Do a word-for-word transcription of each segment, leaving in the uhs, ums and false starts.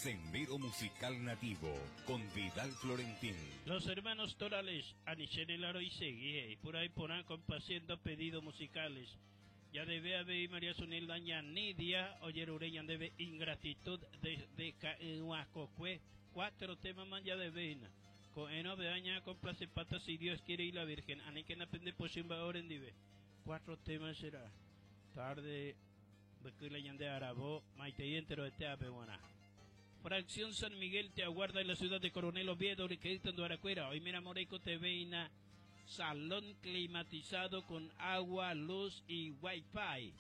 Sendero Musical Nativo con Vidal Florentín. Los hermanos Torales, Anichene Laroisegui, por ahí por complaciendo pedidos musicales. Ya debe haber María Sunil Daña Nidia, Oyerureña debe ingratitud de, de Cuatro temas más ya debe. Con eno beaña complace patas si Dios quiere y la Virgen. Aniken aprende posimba ahora en dive. Cuatro temas será. Tarde, de Arabó, Maite y entero de Teape, buena. Fracción San Miguel te aguarda en la ciudad de Coronel Oviedo, Riquelton Aracuera. Hoy mira Moreco te veina salón climatizado con agua, luz y wifi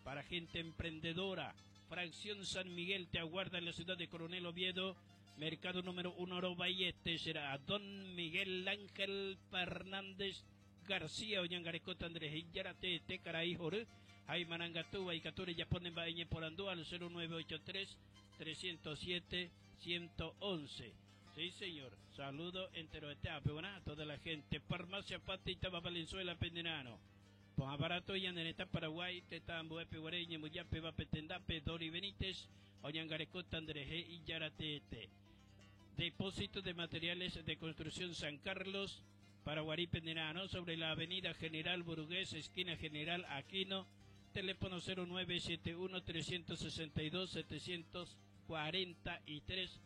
para gente emprendedora. Fracción San Miguel te aguarda en la ciudad de Coronel Oviedo, mercado número uno Orobayete será Don Miguel Ángel Fernández García Oñangarecota Andrés Yarate Tecaraí Joré Jaimanangatúa y Cature Yaponen Baeñe por Andú al cero nueve ocho tres trescientos siete ciento once. Sí, señor. Saludo entero de Teape, buena a toda la gente. Farmacia Patita Valenzuela Pendenano. Pon aparato y Andeneta Paraguay, Tetambo, Epe Guareña, Muyape, Vapetendape, Dori Benítez, Oñangarecota, Andrés G. y Yaratete. Depósito de materiales de construcción San Carlos, Paraguarí Pendenano, sobre la avenida General Burgués, esquina General Aquino, teléfono cero nueve siete uno trescientos sesenta y dos setecientos cuarenta y tres.